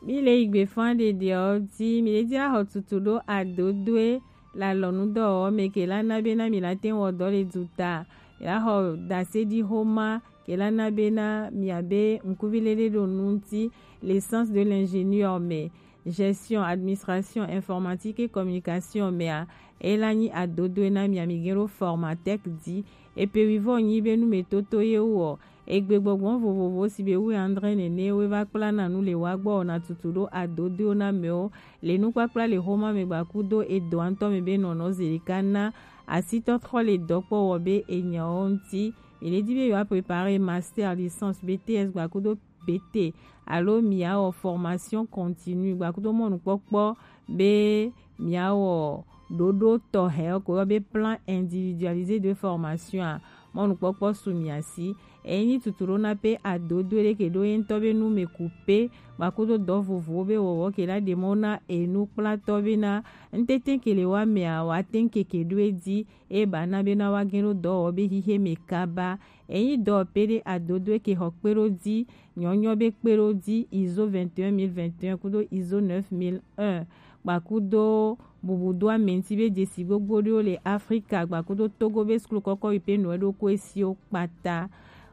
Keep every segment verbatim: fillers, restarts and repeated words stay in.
Mi le yi gbe fan ɖeɖe ɔ di mi le di la xɔ tutu ɖo adodoe la lɔnu dɔ ɔ me ke la na be na mi la te wɔ dɔ le du ta. Mi la xɔ dasedi xoma ke la na be na mi abe ŋkuvi lele ɖo nu ŋuti, l'essence de l'ingénieur me, gestion, administration, informatique et communication mea, e la nyi adodoe na mi ami gen ɖo Formatec di. Epe wivɔ nyi be nu me toto ye wɔ. Egbe gbɔgbɔ vovovo si be wu andre nene we va kpla na nu le wa gbɔ na tutu ɖo adodoe na mewo le nukpakpla le xoma me gbakudo edɔ ŋutɔ me be nɔnɔ zelika na asitɔtrɔ le dɔkpɔ wɔ be enyawo ŋuti. Mi le di be yewoa préparer master, licence, B T S gbakudo B T alo miawɔ formation continue gbakudo mɔnukpɔkpɔ be miawɔ ɖoɖo tɔxɛ ko yɔ be plan individualisé de formation a, mɔnukpɔkpɔ su mia si. Enyi tutu ɖo na pe adodo ɖe ke ɖo ye ŋutɔ be nu me ku pe gbakudo dɔ vovowo be wɔwɔ ke la ɖe mɔ na enukplatɔ be na ŋtete ke le wa mea wa te ŋkeke ɖo edzi e ba na be na wa gen ɖo dɔ wɔ be xixe me kaba. Enyi dɔ pe ɖe adodo ke xɔ kpe ɖo dzi nyɔnyɔ be kpe ɖo dzi iso vingt et un mille vingt et un kudo iso neuf mille un gbakudo bubu do ame ŋuti be dzesi gbogbo ɖewo le Afrika gbakudo Togo be suklu kɔkɔ yi pe nɔ ɖo ko esiwo kpata.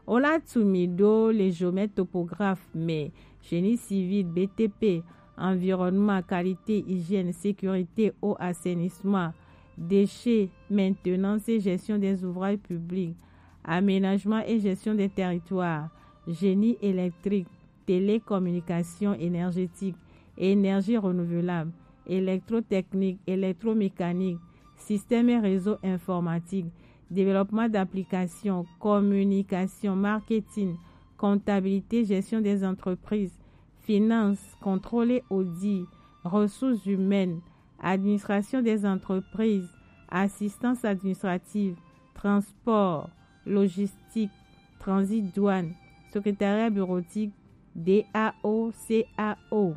Wo la tu mi ɖo le géomètre topographe me, génie civil, B T P, environnement, qualité, hygiène, sécurité, eau, assainissement, déchets, maintenance et gestion des ouvrages publics, aménagement et gestion des territoires, génie électrique, télécommunication énergétique, énergie renouvelable, électrotechnique, électromécanique, système et réseau informatique, développement d'applications, communication, marketing, comptabilité, gestion des entreprises, finance, contrôle et audit, ressources humaines, administration des entreprises, assistance administrative, transport, logistique, transit douane, secrétariat bureautique, D A O, C A O.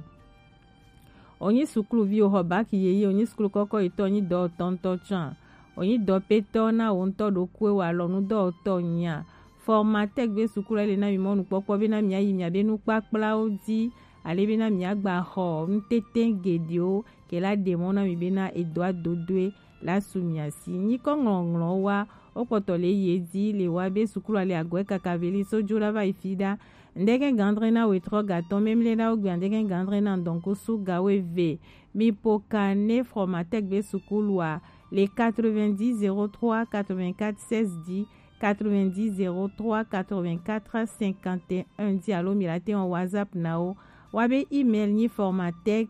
Onyi sukluvi o xɔ bac yeye, onyi suklu kɔkɔ yitɔ, onyi dɔ tɔntɔ tsan, onyi dɔpetɔ na wo ŋutɔ ɖokui wa lɔnu dɔwɔtɔ nya. Formatec be suklu le na mi mɔnukpɔkpɔ be na mi ayi mi abe nukpakplawo di, ale be na mi agba xɔ nutete geɖewo ke la ɖe mɔ na mi be na edɔ adodoe la su mia si. Nyikɔ ŋlɔŋlɔ wa wo kpɔtɔ le ye di le wa be suklu ale agɔe kaka veli so jo la va yi fi ɖa. Ndege gandre na wetrɔ gatɔ memle na wo gbe ndege gandre na ndɔnko su gawe ve. Mi po ka ne Formatec be suklu a le quatre-vingt-dix zéro trois quatre-vingt-quatre seize di, quatre-vingt-dix zéro trois quatre-vingt-quatre cinquante et un di alo mi la te wɔn WhatsApp na wo. Wa be email nyi Formatec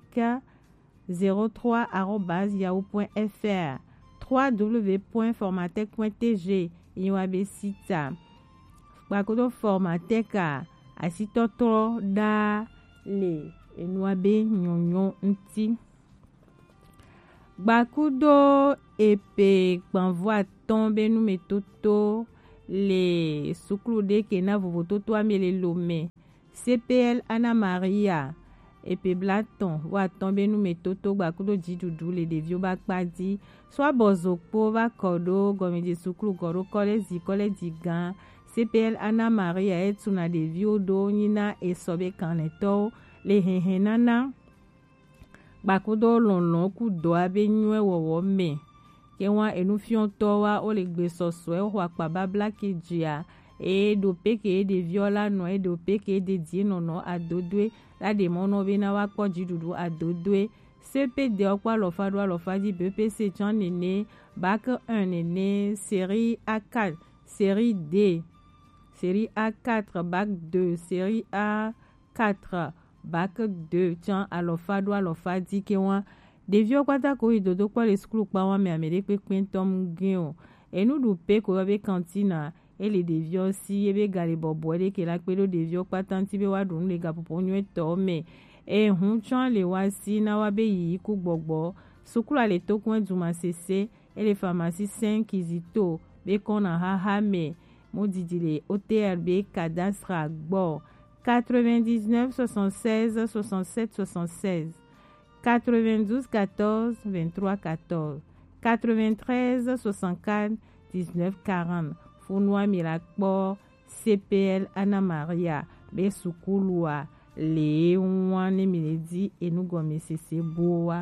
zéro trois arobase yahoo point F R, trois W point formatec point T G, yi wa be sita. Kpakudo Formatec a, asitɔtrɔ ɖa le enua be nyɔnyɔ ŋuti. Gbakudo epe gbanvo atɔn be numetoto le suklu ɖe ke na vovototo ame le Lomé. C P L Anna Maria, epe blatɔn vɔ atɔn be numetoto gbakudo jiɖuɖu le ɖeviwo ba kpa di. So abɔ zokpo va kɔ ɖo gɔmedze suklu gɔ ɖo kɔlɛzi kɔlɛzi gã. C P L Anna Maria e tuna ɖeviwo ɖo nyi na esɔ be kanlɛtɔwo le hɛnhɛn nana gbakudo lɔlɔ ku dɔa be nyuɛ wɔwɔ mɛ. Ke wa enufiɔtɔ wa wo le gbe sɔsɔɛ xɔ akpa babla ke dzia, e ɖo pe ke ɖeviɔ la nɔ, e ɖo pe ke ɖe die nɔnɔ adodoe la ɖe mɔ nɔ be na wa kpɔ jiɖuɖu adodoe. C P D ɔ kpɔ alɔfa ɖo alɔfa di, B P C tsɔ nene, bac un nene, série A quatre, série D, série A quatre, bac deux, série A quatre, bac deux tsã alɔfa ɖo alɔfa di ke wa. Ɖeviwo kpata ko yi dodo kpɔ le suklu kpa wa mɛ ame ɖe kpekpe ŋutɔ mu gen o. Enu ɖu pe ko yɔ be kantina, e le ɖeviwo si ye be ga le bɔbɔe ɖe ke la kpe ɖo ɖeviwo kpata ŋuti be wa ɖu nu le gaƒoƒo nyuitɔ mɛ. E hun tsã le wa si na wa be yiyi ku gbɔgbɔ. Suklu a le tokun e duma sese, e le pharmacie Saint Kizito be kɔna xaxa mɛ. Mu didi le O T R be cadastre gbɔ. Quatre-vingt-dix-neuf soixante-seize soixante-sept soixante-seize, quatre-vingt-douze quatorze vingt-trois quatorze, quatre-vingt-treize soixante-quatre dix-neuf quarante. Funua mi la kpɔ C P L Anna Maria be sukulu a. Le ŋua ne mi le di enugɔmesese bo wa.